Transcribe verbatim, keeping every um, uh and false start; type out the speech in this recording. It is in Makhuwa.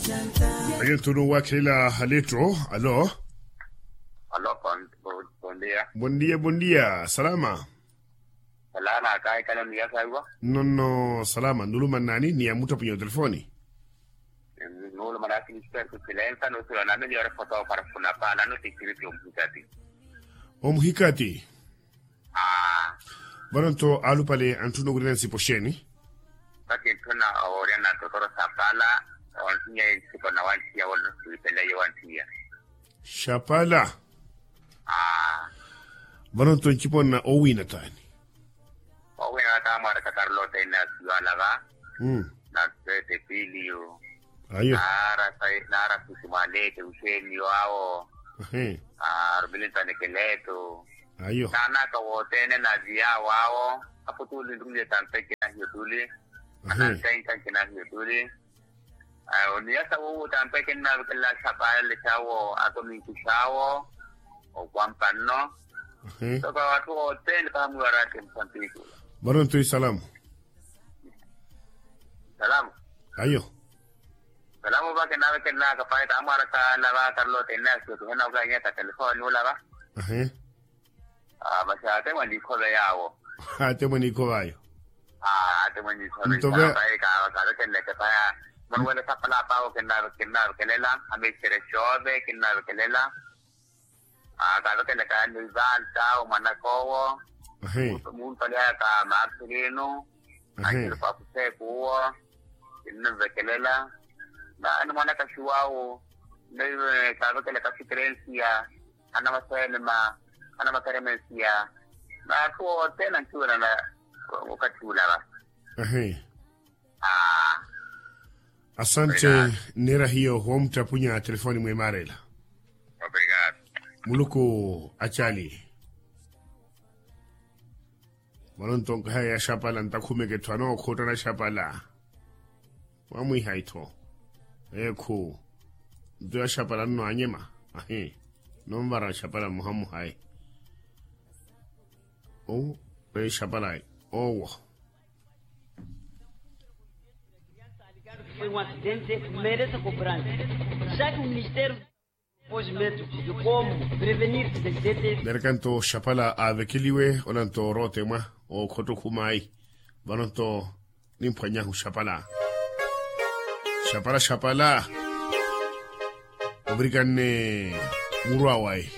Ayo nthu nuwakhelela aletto. Alo. Alo. Bondia. Bondia bondia salama. Salama kaikala niyasaiwa. Nonno salama nuluma nani ni ya muttapunyo telefoni. Nuluma nasi ni siperku silensa nusiwa nami ni ore foto para funa pa nanu ti siriti omuhikati. Omuhikati. Vano nto alupale antthuna okurina nsipo xeeni? Vakintthuna owoorya na totoro sapala onthinya ensipo na wanthiya wona siipeleyo wanthiya. Xapala. Vano nto ncipo nna owiina taani? Owiina wa taamwaraka karlote ene asiwala va. Na sete piliyo. Ayo. Naara sai naara susi mwaleke uxeeniyo awo. Arumili ntanekeleto. Ayo. Naanaka wothene naviya awo awo. Apo tuli nrumiye tampe kinahiyo tuli. Anantenka kinahiyo tuli. Oniyasa wowo tampe kinnavekelela xapale xawo akominki xawo. Okwampa nno. Toka watthu wothene paha mwiwarathi msampiku. Vano nto isalamu. Salamu. Ayo. Salamu va kinavekelelaka pahi tamwaraka lava karlote ene asiyo tuhenaka nyaka telefoni ulava. Masi ate mwanikhove yawo. Ate mwanikhove ayo. Ate mwanikhove. Kavekeleleke paya. Mwanuwele sapala pawo kinnavekelela amexere xove kinnavekelela. Kavekeleleka ni vanta omwanaka owo. Muntoliyaka marcelino. Axirupaku seku uwo. Kinnimvekelela. Naani mwanaka xuwawu. Kavekeleleka sikerensiya. Anamasenema. Anamakeremensiya. Naathu othene ankiwelana. Okathi ulava. Asante. Nneera hiyo woomuttapunya telefoni mwemarela. Muluku acali. Vano nto nkahaya ya xapala ntakhumeke etthu anookhuttana xapala. Mwamwiha ittho. Ekhu. Nto ya xapala nno anyema. Ahi. Nonvara xapala mmuha mmuhayi. Owo. Eyi xapala ayi. Owo. Mereka nto xapala aavekeliwe ola nto orootemwa. Okhotto khumaayi. Vano nto nimphwanyahu xapala. Xapala xapala. Ovirikanne muru awayi.